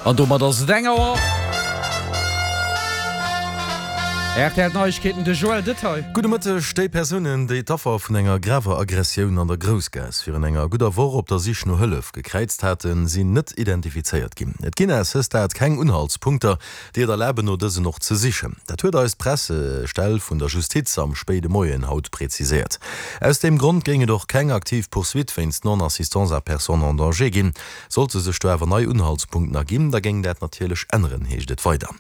An domat ass et eng Auer. Rtl Neiegkeeten, de Joël Detail. Gudde Mëtteg. Déi Persounen, déi d'Affer vun enger graver Aggressioun an der Groussgaass virun enger gudder Woch op der Sich no Hëllef gekräizt haten, sinn net identifizéiert ginn. Et ginn à ce stade keng Unhaltspunkter, déi et erlaben, no dësen och ze sichen. Dat huet eis d'Pressestell vun der Justiz am spéide Moien haut präziséiert. Aus deem Grond géing et och keng aktiv Poursuite wéinst Non-assistance à personne en danger ginn. Sollte sech do awer nei Unhaltspunkten erginn, da géing dat natierlech änneren, heescht et weider.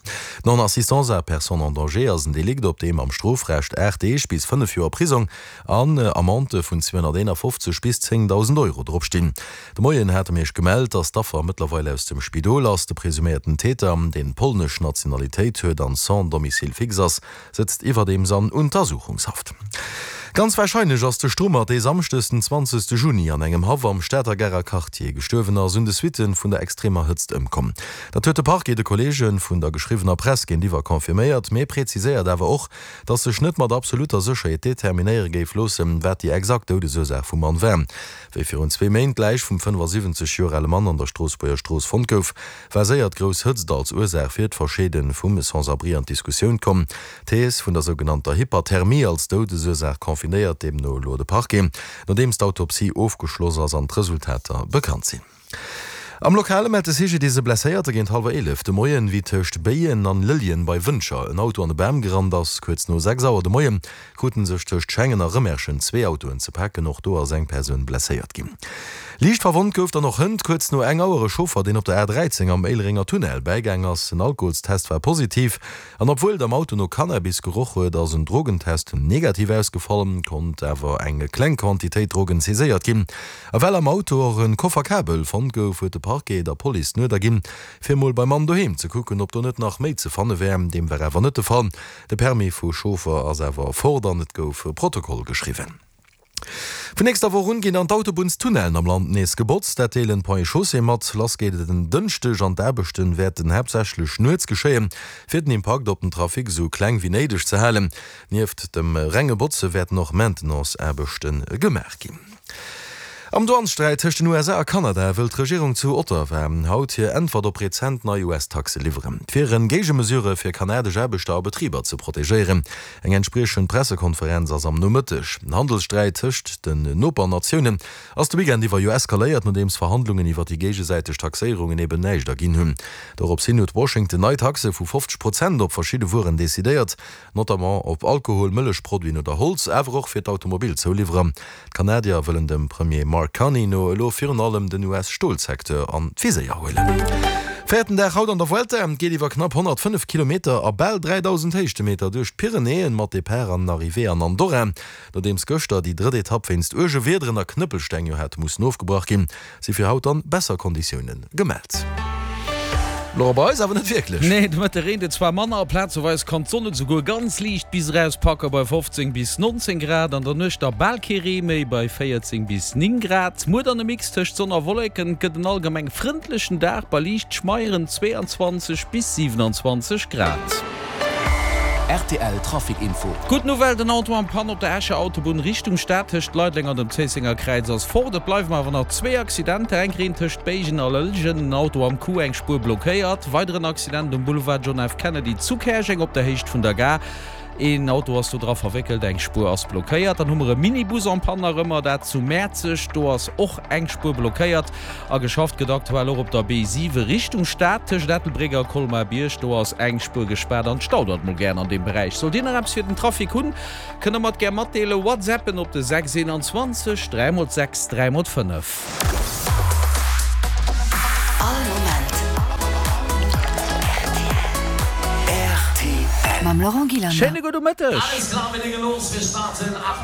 D'Non-assistance à personne en danger ass en Delikt, op deem am Strofrecht 8 Deeg bis 5 Joer Prisong an Amendë vun 251 bis 10.000 Euro drop stinn. De Moien hate mir iech gemellt, dass d'Affer mëttlerweil aus dem Spidol ass. De presuméierten Täter, deen polnesch Nationalitéit huet an sans domicile fixe ass, sëtzt iwwerdeems an Untersuchungshaft. Ganz warscheinlech ass de Strummert, dee Samschdes den 20 Juni an engem Haff am Stater Garer Quartier gestuerwen ass, un de Suitte vun der extremer Hëtzt ëmkomm. Dat huet de Parquet de Kolleege vun der geschriwwener Press géintiwwer confirméiert, mee präziséiert awer och, datt sech net mat absolutter Sécherheet determinéiere géif loossen, wat déi exakt Doudesursaach vum Mann war. Wéi virun zwee Méint d'Läich vum 75 Joer ale Mann an der Stroossbuerger Strooss fonnt gouf, war séier d'grouss Hëtzt als Ursaach fir d'Verscheede vum Sans-abri an d'Diskussioun komm. D'Thees vun der sougenannter Hyperthermie als Doudesursaach confirméiert deemno elo de Parquet, nodeems d'Autopsie ofgeschloss ass an d'Resultater bekannt sinn. Am Lokale mellt de CGDIS e Blesséierte géint hallwer 11 de Moien, wéi tëscht Béien an Lëlljen bei Wëntger en Auto an e Bam gerannt ass. Kuerz no 6 Auer de Moie kruten sech tëscht Schengen a Rëmerschen zwee Autoen ze paken. Och do ass eng Persoun blesséiert ginn. Liicht verwonnt gouf dann och hënt kuerz no eng Auer e Chauffer, deen op der A13 am Éilerenger Tunnel bäigaang ass. En Alkoholstest war positiv an obwuel et am Auto no Cannabis geroch huet, ass en Drogentest negativ ausgefall, konnt awer eng kleng Quantitéit Drogen saiséiert ginn. A well am Auto och e Koffer Kabel fonnt gouf, huet de Parquet der Police den Uerder ginn, fir mol beim Mann doheem ze kucken, ob do net nach méi ze fanne wär. Deem war awer net de Fall. De Permis vu Chauffer ass awer fort an et gouf e Protokoll geschriwwen. Vun nächster Woch un ginn dann d'Autobunnstunnellen am Land nees gebotzt. Dat deelen d'Ponts et Chaussées mat. Lass geet et en Dënschdeg an d'Aarbechten wäerten haaptsächlech nuets geschéien, fir den Impakt op den Trafic esou kleng wéi néideg ze halen. Nieft dem renge Botze wäerten och Maintenance-Aarbechte gemaach ginn. Am Douanessträit tëscht den USA a Kanada wëll d'Regierung zu Ottawa haut hir Äntwert op rezent nei US-Taxe liwweren. Et wieren Géigemesure fir kanadesch Aarbechter a Betriber ze protegéieren. Eng entspriechend Pressekonferenz ass am Nomëtteg. Den Handelssträit tëscht den Nopernatiounen ass de Weekend iwwer jo eskaléiert, nodeems Verhandlungen iwwer déi géigesäiteg Taxéierungen eben näischt erginn hunn. Dorops hin huet Washington nei Taxe vu 50 Prozent op verschidde Wueren decidéiert. Notamment op Alkohol, Mëllechproduiten oder Holz, awer och fir d'Automobilzouliwwerer. D'Kanadier wëllen dem Premier Mark Carney no elo virun allem den US-Stolsecteur an d'Viséier huelen. Véierten Dag haut an der Vuelta. Et geet iwwer knapp 105 Kilometer a bal 3.000 Héichtemeter duerch d'Pyrenäen, mat Depart an Arrivée an Andorra. Nodeems gëschter déi drëtt Etapp wéinst uerge Wiederen a Knëppelsteng jo hat mussen ofgebrach ginn, Si fir haut dann besser Konditiounen gemellt. Laurent, bei eis awer net wierklech. Nee, de Mëtte reent et zwar manner a plazeweis kann d'Sonn et esouguer ganz liicht bis eraus packe bei 15 bis 19 Grad. An der Nuecht da bal kee Ree méi bei 14 bis 9 Grad. Muer dann e Mix tëscht Sonn a Wolleken, et gëtt en allgemeng frëndlechen Dag bei liicht schmeieren 22 bis 27 Grad. Rtl Trafic Info. Gutt Nouvelle, den Auto en panne op der Escher Autobunn Richtung Stad tëscht Leideleng an dem Zéissenger Kräiz ass fort. Et bleiwen awer nach zwee Accidenter, eng Reen tëscht Béigen a Lëllgen, en Auto am Coup, eng Spuer blockéiert. Weideren Accident um Boulevard John F. Kennedy zu Käerjeng op der Héicht vun der Gare. Een Auto ass do dra verwéckelt, eng Spuer ass blockéiert. Dann hu mer e Minibus en panne nach ëmmer, dat zu Mäerzeg, do ass och eng Spuer blockéiert. A geschafft gëtt aktuell och op der B7 Richtung Stad tëscht Ettelbréck a Colmar-Bierg. Do ass eng Spuer gespaart an d'staudert mol gären an deem Beräich. Sollt Dir nach eppes fir den Trafic hunn, kënnt der mer et gär matdeelen. Whatsappen op de 6 21 3 mol 6 3 mol 5. All Moment rtl. Mam Laurent Gillander. Schéine gudde Mëtteg.